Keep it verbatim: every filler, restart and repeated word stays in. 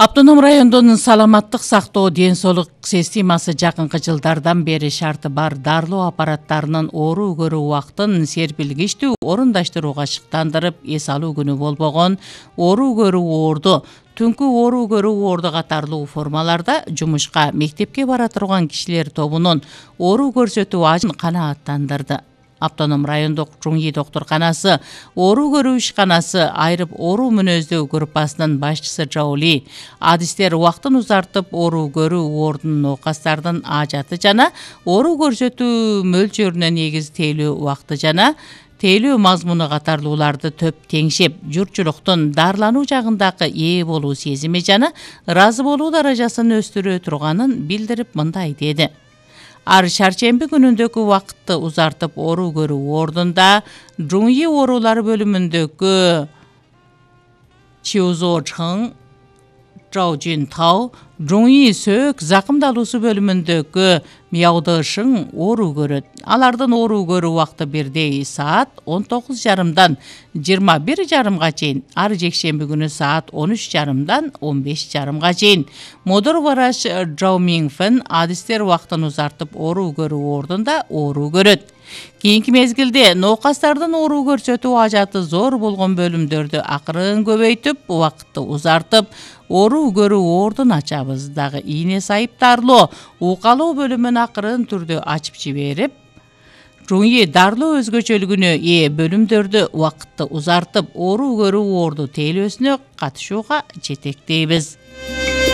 Автоном райондун саламаттык сактоо ден соолук системасы жакынкы жылдардан бери шарты бар дарылоо аппараттарынын оору көрүү убактын серпилгичтүү орундаштырууга шыктандырып эс алуу күнү болбогон оору көрүү оорду, түнкү оору көрүү оорду катарлуу формаларда жумушка, мектепке бара турган кишилер тобунун оору көрсөтүү ажын канааттандырды. Автоном райондук Жуңи доктурканасы, оору көрүү ишканасы айрып оору мүнөздүү группасынын башчысы Жаули адистер убактын узартып оору көрүү оордунун оокастардын ажаты жана оору көрсөтүү мөлчөрүнө негиз тейлөө убакты жана тейлөө мазмуну катарлууларды төп теңшеп, журтчулуктун дарылануу жагындагы ээ болуу сезими жана ыраазы болуу даражасын өстүрө турганын билдирип мындай деди. Ар шаршемби күнүндөгү убакытты узартып оору көрүү ордунда Жуңи оорулары бөлүмүндөгү Чиозо Чхың, Жао Жунтао, Жуңи сөөк закымдалуусу бөлүмүндөгү Мяодо Шың оору көрөт. Алардын оору көрүү убакты бирдей саат он тогуз жарымдан жыйырма бир жарымга чейин, ар жекшемби күнү саат он үч жарымдан он беш жарымга чейин. Модор врач Жао Мингфен адистер убактын узартып оору көрүү ордунда оору көрөт. Кийинки мезгилде ноокастардын оору көрсөтүү ажаты зор болгон бөлүмдөрдү акырын көбөйтүп, убакытты узартып, оору көрүү ордун ачабыз. Дагы ийне сайып дарылоо, укалоо бөлүмүн акырын түрдө ачып жиберип, Жуңи дарылоо өзгөчөлүгүнө ээ бөлүмдөрдү убакытты узартып, оору көрүү орду тейлөөсүнө катышууга жетектейбиз.